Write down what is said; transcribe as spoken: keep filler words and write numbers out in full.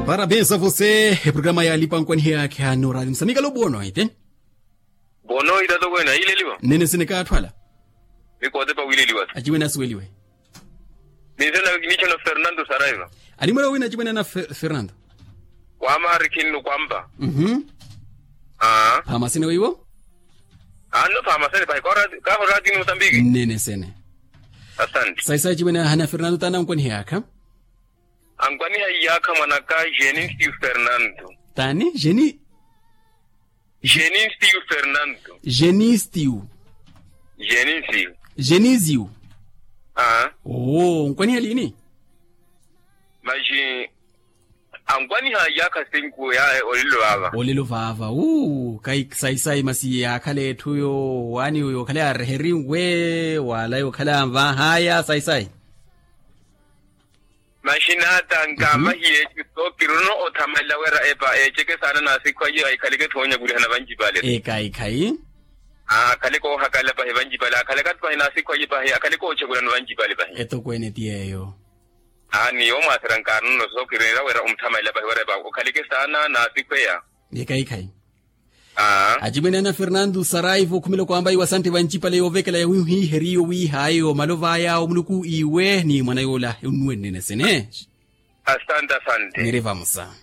Parabens a vose eprograma ya alipa ankwanihe yaakhe anoorali musamikalo bwono ete. Bwono itato kwene aileliwa. Nene sene kaathwala. Mikootepa wileliwa. Aciwene asuweliwe. Ninsena kinichona fernando saraiva. Animwela wina aciwene ana fernando. Kwama hari kinnu kwampa. Phaama sene weiwo. Anno phaama sene pahi kahorati ni musambiki. Nene sene. Asante. Sayi sayi aciwene ana fernando tani ankwanihe yaakha. Ankwaniha iyaakha mwanaka jenistiu fernando. Tani jeni. Jenistiu fernando. Jenistiu. Jenistiu. Jenistiu. Aa. Oo nkwaniha lini? Maxi ankwaniha iyaakha sinku ya olelo vaava. Olelo vaava uu kayi sayisayi masi yaakhala etthu yo waani yookhale aareherinwe wala yookhale anvahaya sayisayi. Maxinaata nkamahiye eciso kiruno othamalela wira epa eceke saana n'asikhu aye aikhaleke thoonya kulihana vancipale. Ekhayi khayi. Akhaleke oohakala pahi vancipale akhaleke ati pahi n'asikhu aye pahi akhaleke oochekulano vancipale pahi. Etokweene ti yeeyo. Aa ni yomwaasera nkaanono so kirinira wira omthamalela pahi wira epa okhaleke saana n'asikhu eya. Ekhayi khayi. Acimwene ana fernando saraivo okhumela okwambayi wa sante vancipale yoovekela yawihiiheriyo wiihaayo malovaya omuluku iwe ni mwana yoola onnuwennene sene. Asante asante. Niri vamusa.